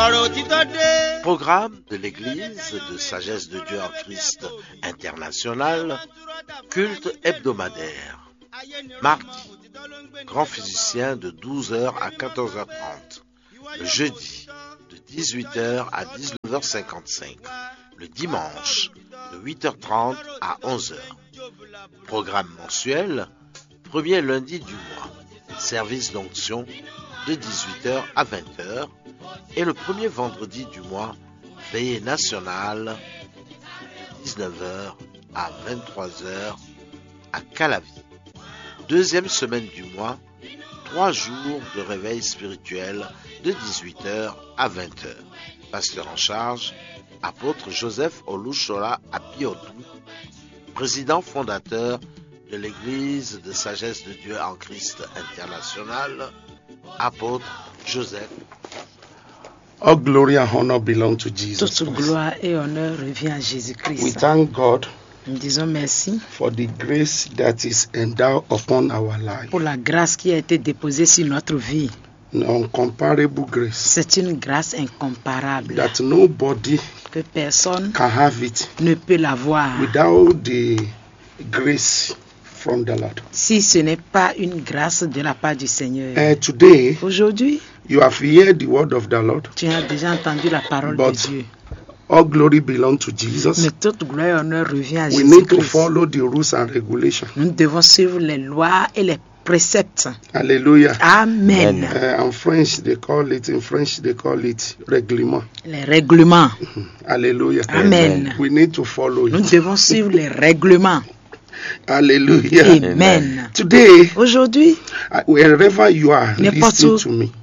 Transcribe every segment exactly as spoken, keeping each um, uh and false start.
Ọ̀rọ̀ òtítọ́ dé. Programme de l'Église de Sagesse de Dieu en Christ International, culte hebdomadaire. Mardi, grand physicien de douze heures à quatorze heures trente. Le jeudi, de dix-huit heures à dix-neuf heures cinquante-cinq. Le dimanche, de huit heures trente à onze heures. Programme mensuel, premier lundi du mois, service d'onction de dix-huit heures à vingt heures. Et le premier vendredi du mois, veillée nationale, de dix-neuf heures à vingt-trois heures à Calavi. Deuxième semaine du mois, trois jours de réveil spirituel de dix-huit heures à vingt heures. Pasteur en charge, apôtre Joseph Olushola Abiodun, président fondateur de l'Église de Sagesse de Dieu en Christ International, apôtre Joseph. All glory and honor belong to Jesus Christ. Toute gloire et honneur revient à Jésus-Christ. We thank God. Nous disons merci. For the grace that is endowed upon our life. Pour la grâce qui a été déposée sur notre vie. An incomparable grace. C'est une grâce incomparable. That nobody que personne can have it. Ne peut l'avoir. Without the grace from the Lord. Si ce n'est pas une grâce de la part du Seigneur. And today, aujourd'hui, you have heard the word of the Lord. Tu as déjà entendu la parole de Dieu. All glory belongs to Jesus. Mais toute gloire et honneur revient à Jésus-Christ. We need to follow the rules and regulations. Nous devons suivre les lois et les préceptes. Hallelujah. Amen. Uh, in French, they call it, in French, they call it règlement. Les règlements. Hallelujah. Amen. We need to follow it. Nous devons suivre les règlements. Hallelujah. Amen. Today, aujourd'hui, uh, wherever you are, n'importe où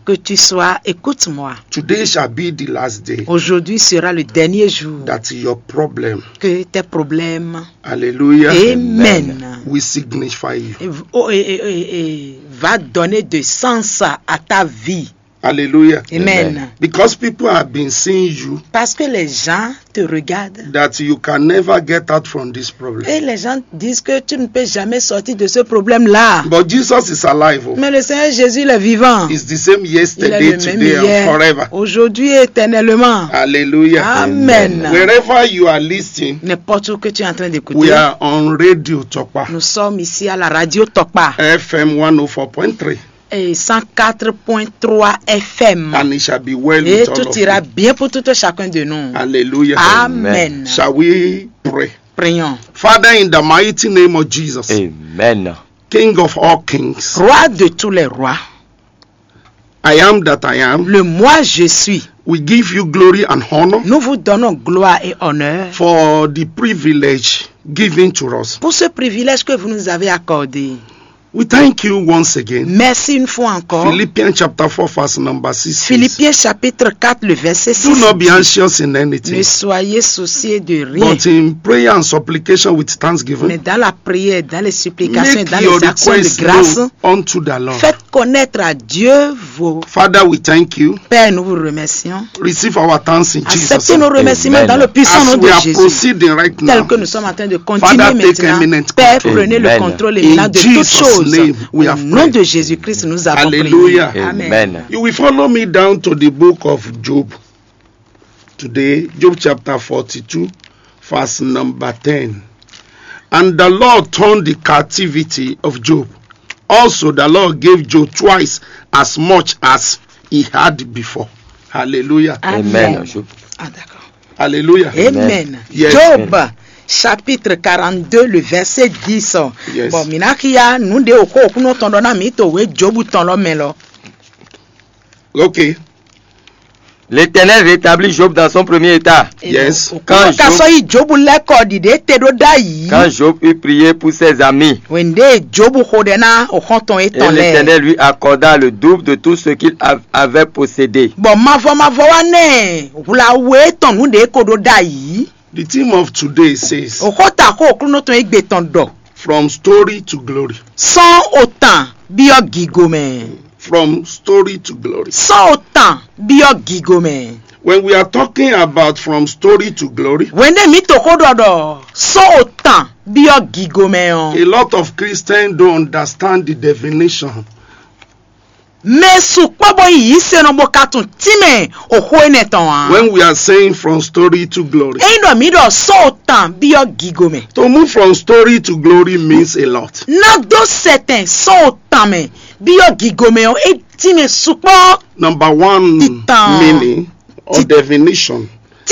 que tu sois, écoute-moi. Today shall be the last day. Aujourd'hui sera le dernier jour. That your problem, que tes problèmes, hallelujah, amen, will signify you. Et, oh, et, et, et, et va donner de sens à, à ta vie. Hallelujah. Amen. Because people have been seeing you. Parce que les gens te regardent. That you can never get out from this problem. Et les gens disent que tu ne peux jamais sortir de ce problème-là. But Jesus is alive. Oh. Mais le Seigneur Jésus, il est vivant. He's the same yesterday, today, and forever. Il est le même hier, aujourd'hui et éternellement. Hallelujah. Amen. Wherever you are listening, n'importe où que tu es en train d'écouter, we are on Radio Tokpa. Nous sommes ici à la radio Tokpa. F M one oh four point three. Et cent quatre point trois F M. And it shall be well with all of you. Et tout ira bien pour tout un chacun de nous. Hallelujah. Amen. Shall we pray? Prions. Father, in the mighty name of Jesus, amen, King of all kings, Roi de tous les rois, I am that I am, le moi je suis, we give you glory and honor, nous vous donnons gloire et honneur, for the privilege given to us, pour ce privilège que vous nous avez accordé. We thank you once again. Merci une fois encore. Philippians chapter four, verse number six says, Philippiens chapitre quatre, le verset six dit, do not be anxious in anything. Ne soyez souciés de rien. But in prayer and supplication with thanksgiving, mais dans la prière, dans les supplications, make dans les actions de grâce, your requests known unto the Lord. Faites connaître à Dieu vos... Father, we thank you. Père, nous vous remercions. Receive our thanks in Jesus' name. Acceptez nos remerciements dans le puissant nom de Jésus. As we are proceeding right now, tel que nous sommes en train de continuer maintenant, Father, take eminent control. Père, prenez le control et maintenant de toutes choses. In Jesus' name we have prayed. Au nom de Jésus-Christ, nous avons prié. Hallelujah. Amen. Amen. You will follow me down to the book of Job. Today, Job chapter forty-two, verse number ten. And the Lord turned the captivity of Job. Also, the Lord gave Job twice as much as he had before. Hallelujah. Amen. Amen. Ah, d'accord. Hallelujah. Amen. Yes. Job chapitre quarante-deux, le verset dix. Yes. Bon, mina kia, nous de oko, kuno tondo na mi to we Job tɔn lɔ mɛ lɔ. Okay. L'Éternel rétablit Job dans son premier état. Yes. Quand Job, ka sɔ yi Job lɛ kɔ ɖiɖe te ɖo ɖ'ayǐ. Quand Job eut prié pour ses amis, wende Job xo ɖɛ na o xɔntɔn et étɔn lɛ. L'Éternel lui accorda le double de tout ce qu'il av- avait possédé. Bɔn mavɔ mavɔ wa nɛ hwlawe tɔn nu ɖe ko ɖo ɖ'ayǐ. The theme of today says, o xota xo Oklunɔ tɔn egbe tɔn ɖɔ, from story to glory. Sɔn o tan biɔ gigo mɛ. From story to glory. Sɔn o tan biɔ gigo mɛ. When we are talking about from story to glory, wende mi to xo ɖɔ ɖɔ sɔn o tan biɔ gigo mɛ ɔ, a lot of Christians don't understand the definition. Mɛ sukpɔ́ bɔ yi yǐsenɔ bó ka tunwun tínmɛ oxó énɛ́ tɔn ǎ. When we are saying from story to glory, Ényí ɖɔ mǐ ɖɔ sɔ́ o tàn byɔ́ gigo mɛ. To move from story to glory means a lot. Ná dó sɛtɛn sɔ́ o tàn mɛ byɔ́ gigo mɛ ɔ́, é tínmɛ sukpɔ́. Number one Titan. Meaning or definition